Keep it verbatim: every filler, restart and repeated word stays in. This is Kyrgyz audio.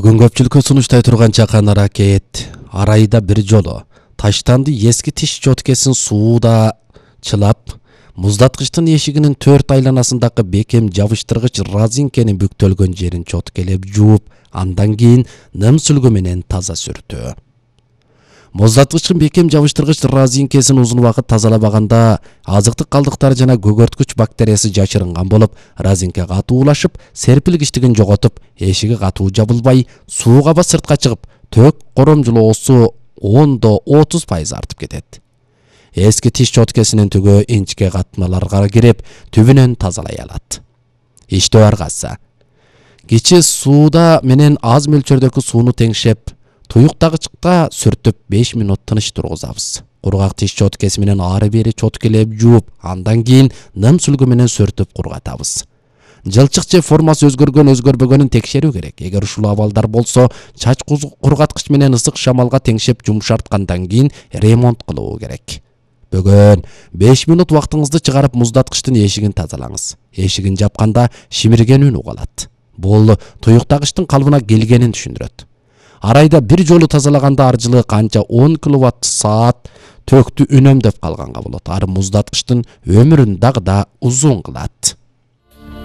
Бүгүн көпчүлүккө сунуштай турган чакан аракет ар айда бир жолу таштанды эски тиш чоткесин сууда чылап, муздаткычтын эшигинин төрт айланасындагы бекем жабыштыргыч разинкенин бүктөлгөн жерин чоткелеп жууп, андан кийин ным сүлгү менен таза сүртүү. Муздаткычтын бекем жабыштыргыч разинкесин узун убакыт тазалабаганда азыктык калдыктар жана көгөрткүч бактериясы жашырынган болуп, разинке катуулашып, серпилгичтигин жоготуп, эшиги катуу жабылбай, суу каба сыртка чыгып, төөк коромжулоосу ондо отуз пайыз артып кетет. Эски тиш чоткесинин түгү инчке катмаларга кирип, түбүнөн тазалай алат. Иштөө аргасы. Кичи сууда менен аз мөлчөрдөгү сууну теңшеп, туюктагычка сүртүп беш мүнөт тыныч тургузабыз. Кургак тиш чоткеси менен ары бери чоткелеп жууп, андан кийин ным сүлгү менен сүртүп кургатабыз. Жылчык же формасы өзгөргөн өзгөрбөгөнүн текшерүү керек. Эгер ушул абалдар болсо, чач кургаткыч менен ысык шамалга теңшеп жумшарткандан кийин ремонт кылуу керек. Бүгүн беш мүнөт убактыңызды чыгарып муздаткычтын эшигин тазалаңыз. Эшигин жапканда шимирген үн угалат. Бул туюктагычтын калыбына келгенин түшүндүрөт. Ар айда бир жолу тазалаганда аржылык канча он киловатт саат төктү үнөмдөп калганга болот. Ары муздаткычтын өмүрүн дагы да узун кылат.